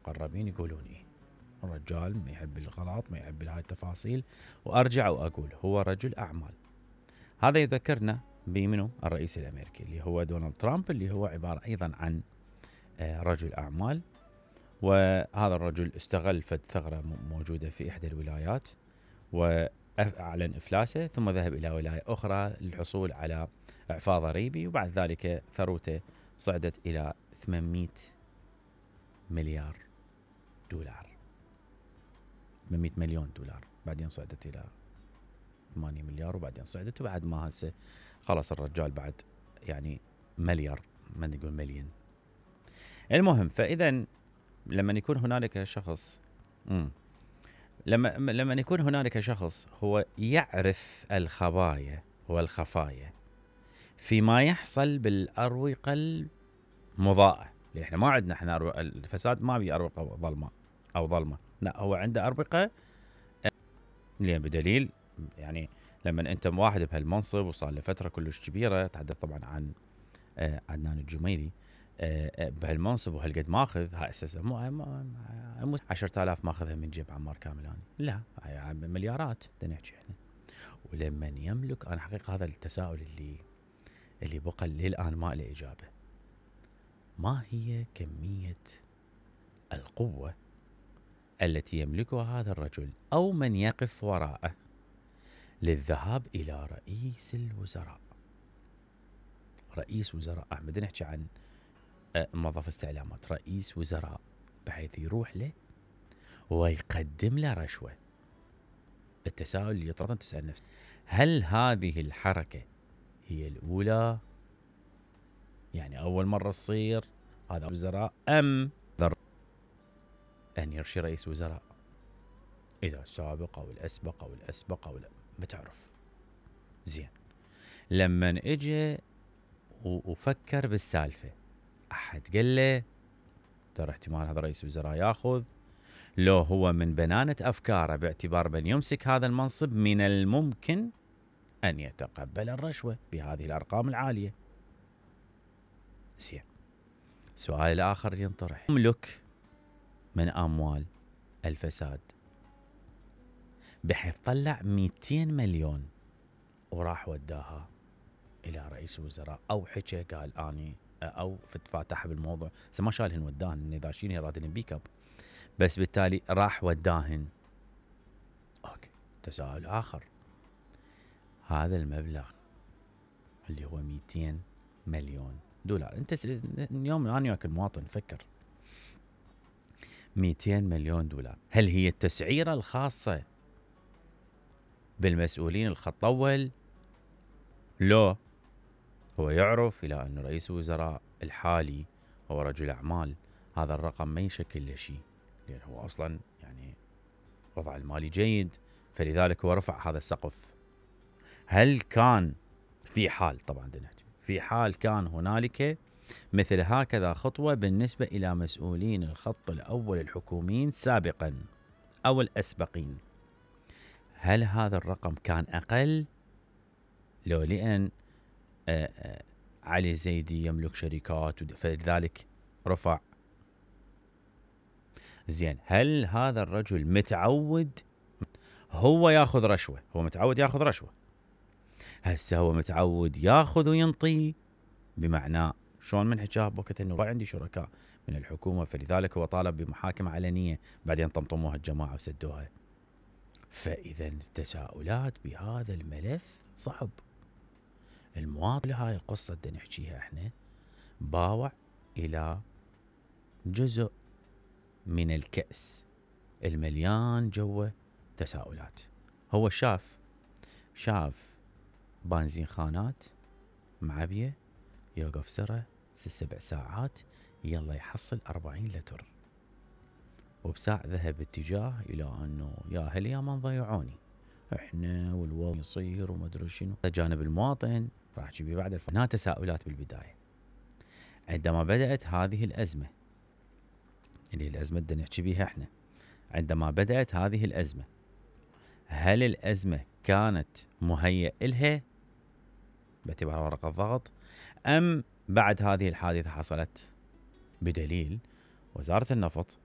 المقربين يقولون إيه، الرجال ما يحب الغلط، ما يحب هاي التفاصيل. وأرجع وأقول هو رجل أعمال. هذا يذكرنا بمنو؟ الرئيس الأمريكي اللي هو دونالد ترامب، اللي هو عبارة أيضا عن رجل أعمال. وهذا الرجل استغل فد ثغرة موجودة في إحدى الولايات وأعلن إفلاسه، ثم ذهب إلى ولاية أخرى للحصول على إعفاء ضريبي، وبعد ذلك ثروته صعدت إلى 800 مليار دولار، 800 مليون دولار، بعدين صعدت إلى 8 مليار، وبعدين صعدت، وبعد ما هسه خلص الرجال بعد يعني مليار، ما نقول مليون. المهم، فإذا لما يكون هنالك شخص لما يكون هنالك شخص هو يعرف الخبايا والخفايا فيما يحصل بالأروقة المضاءة، لأن احنا ما عندنا احنا الفساد ما بي أروقة ظلمة أو ظلمة، لا هو عنده أروقة. لأن بدليل يعني لما أنت واحد بهالمنصب وصار له فترة كلش كبيرة، تحدث طبعا عن عدنان الجميلي، بهالمنصب وهالقد ماخذ، هاي اساسا مو 10,000 ماخذها من جيب عمار كاملاني، لا هاي مليارات نحكي احنا. ولمن يملك، انا حقيقه هذا التساؤل اللي بقى للان ما له اجابه، ما هي كميه القوه التي يملكها هذا الرجل او من يقف وراءه للذهاب الى رئيس الوزراء؟ رئيس وزراء احمد، نحكي عن موظف استعلامات، رئيس وزراء، بحيث يروح له ويقدم له رشوة. التساؤل اللي يطرح تسأل نفسك، هل هذه الحركة هي الأولى؟ يعني أول مرة تصير هذا وزراء، أم أن يرشي رئيس وزراء إذا السابق أو الأسبق أو الأسبق أو لا ما تعرف. زين، لما اجى وفكر بالسالفة، أحد قال له ترى احتمال هذا رئيس وزراء ياخذ، لو هو من بنانة أفكاره باعتبار من يمسك هذا المنصب من الممكن أن يتقبل الرشوة بهذه الأرقام العالية. زين، السؤال الآخر ينطرح، يملك من أموال الفساد بحيث طلع 200 مليون وراح وداها إلى رئيس الوزراء، أو حكى قال أني أو فتفاتح بالموضوع، ما شالهن وداهن إذا شيني رادلن بيك اب، بس بالتالي راح وداهن. اوكي، تساؤل آخر، هذا المبلغ اللي هو 200 مليون دولار، انت اليوم انا وياك المواطن فكر، 200 مليون دولار، هل هي التسعيرة الخاصة بالمسؤولين الخط أول؟ لو هو يعرف إلى أن رئيس الوزراء الحالي هو رجل أعمال، هذا الرقم ما يشكل له شيء، لأن هو أصلا يعني وضع المالي جيد، فلذلك هو رفع هذا السقف. هل كان في حال، طبعا في حال كان هنالك مثل هكذا خطوة بالنسبة إلى مسؤولين الخط الأول الحكوميين سابقا أو الأسبقين، هل هذا الرقم كان أقل؟ لو لأن علي زيدي يملك شركات فلذلك رفع. زين، هل هذا الرجل متعود هو ياخذ رشوة؟ هو متعود ياخذ رشوة، هسه هو متعود ياخذ وينطي، بمعنى شلون من حكاه بوقت انه عندي شركاء من الحكومة، فلذلك هو طالب بمحاكمة علنية، بعدين طمطموها الجماعة وسدوها. فإذا التساؤلات بهذا الملف صعب. المواطن هاي القصة اللي نحكيها احنا باوع إلى جزء من الكأس المليان جوه تساؤلات. هو شاف بنزين خانات معبية، يوقف سرة 6-7 ساعات، يلا يحصل 40 لتر، وبساع ذهب اتجاه إلى أنه يا هل يا من ضيعوني احنا والوضع يصير وما ادري شنو. جانب المواطن راح تجيبي بعد هنا تساؤلات بالبداية. عندما بدأت هذه الأزمة اللي الأزمة اللي نحكي بيها احنا، عندما بدأت هذه الأزمة، هل الأزمة كانت مهيئ إلها باعتبار ورقة ضغط، أم بعد هذه الحادثة حصلت؟ بدليل وزارة النفط